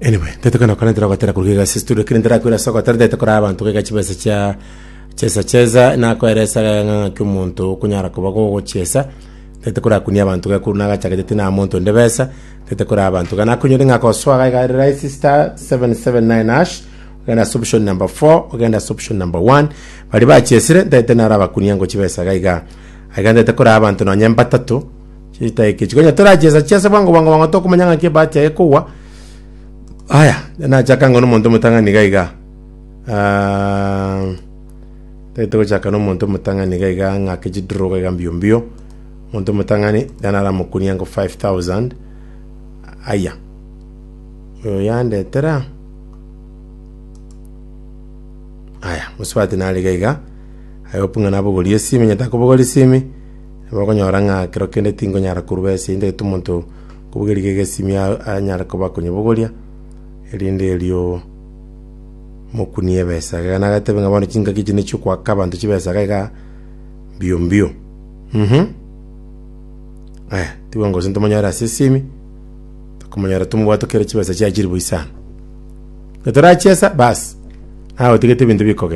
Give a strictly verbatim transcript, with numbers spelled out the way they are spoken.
Anyway, tetokana korentera gotera kuruga ase studio kiri ndirakwira ase ogotera tete kora abanto gaiga chibesa chia chesa chesa nakoeresa ng'aki omonto okonyara koba gogochiesa tete korakunia abanto gakuru nagachagete tina monto onde besa tete kora abanto gana nakunyore ng'a kosoa gaiga rahisi star seven seven nine hash, ogenda ase option number four, ogenda ase option number one. Bari bachiesire ntete narabakunia ngo chibesa gaiga aiga ntete kora abanto nonye mbatato chitaika echi konya torachiesa chiesa bwango bwango bwango tokomanya ng'aki ebahati yaye ekogwa. Aya, nachaka ngo nomonto omotang'ani iga iga. Ah, tagete gochaka nomonto omotang'ani iga iga ng'ake chidraw iga mbio mbio. Omonto omotang'ani naramokunia ngo five thousand. Aya. Oyo yandetera. Aya, mosubati nare iga iga. I hope ng'a nabogorie esimi, nyete akobogoria esimi. Bakonyora ng'a kero kende tingonyara korwa ase ntagete omonto kobogoria iga esimi anyare koba akonyabogoria erinde erio mokunie ebesa. Iga nagatebe ng'a bono chingaki echi nachio okoaka abanto chibesa iga iga mbio mbio. Mhm. Aya, tigwe gose ntomonyore ase esimi, tokomonyora tomobwate kere chibesa chiaye chiri boisano. Getorachiesa, bas, naye otigete ebinto bikogenda.